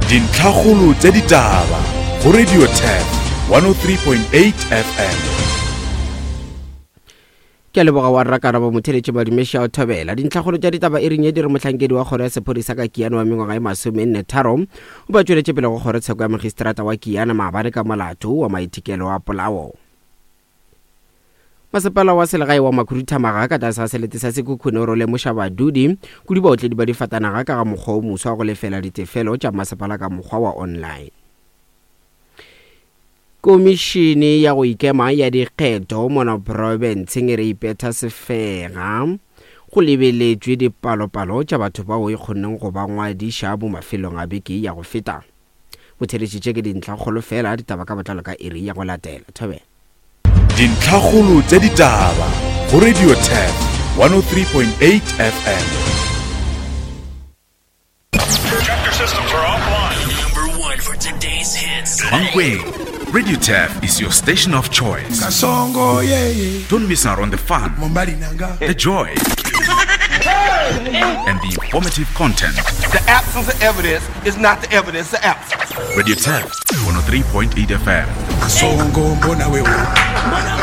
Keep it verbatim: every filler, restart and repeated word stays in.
Dintlhakgolo tša ditaba go Radio Turf one oh three point eight F M. Ke a leboga wa rra Karabo Motheletše Madumeši a o thobela. Dintlhakgolo tša ditaba e reng ye di re mohlankedi wa kgoro ya sephodisa ka Kiana wa mengwaga e masomenne tharo o ba tšweletše pele go kgorotsheko ya magistrata wa Kiana maabane ka molato wa maitekelo a polao. Masepala wa selegae wa Makhuduthamaga ka tlase ga selete sa Sekhukhune o role moša badudi kudu baotledi ba difatanaga ka ga mokgwa o moswa wa go lefela ditefelo tša masepala ka mokgwa wa online. Komišene ya go ikema ya dikgetho mono profenseng e re ipetha sefega go lebeletšwe dipalopalo tša batho bao e kgonneng go ba ngwadiša mo mafelong a beke ya go feta. Botheletši tše ke dintlhakgolo fela, ditaba ka botlalo ka iri ya go latela. Thobela. Dintlhakgolo tša ditaba go Radio Turf one oh three point eight F M. Chapter systems are offline. Number one for today's hits. Mankweng, Radio Turf is your station of choice. Kasongo, yeah, yeah. Don't miss out on the fun, Mombali nanga. the joy, and the informative content. The absence of evidence is not the evidence of absence. Radio Turf one oh three point eight F M. Kasongo, mbona wewe.